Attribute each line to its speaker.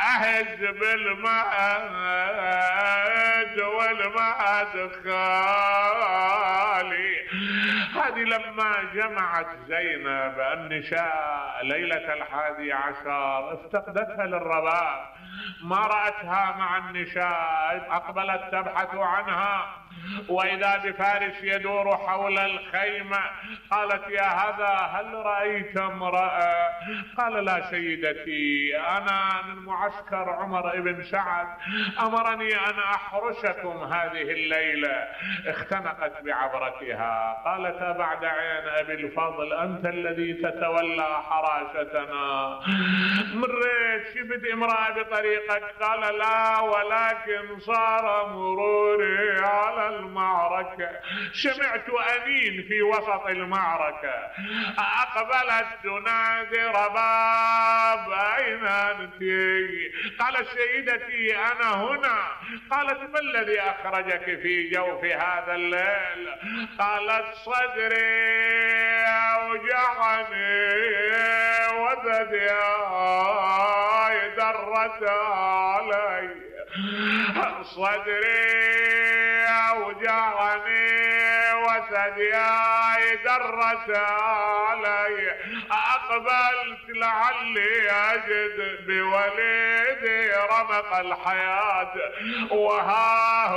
Speaker 1: اهز بالمهد والمهد خالي. هذه لما جمعت زينب النساء ليلة 11 افتقدتها للرباب، ما رأتها مع النساء، أقبلت تبحث عنها، وإذا بفارس يدور حول الخيمة. قالت يا هذا هل رأيت امرأة؟ قال لا سيدتي، أنا من معسكر عمر بن سعد، أمرني أن أحرسكم هذه الليلة. اختنقت بعبرتها، قالت بعد عين أبي الفضل أنت الذي تتولى حراستنا، مريت شفت امرأة بطريقك؟ قال لا، ولكن صار مروري على المعركة، سمعت أنين في وسط المعركة، أقبلت تنادي رباب أين أنت؟ قالت سيدتي أنا هنا. قالت ما الذي أخرجك في جوف هذا الليل؟ قالت صدري أوجعني وثدي درت علي، صدري أوجعني وثدياي درت علي، أقبلت لعلي أجد بوليدي رمق الحياة، وها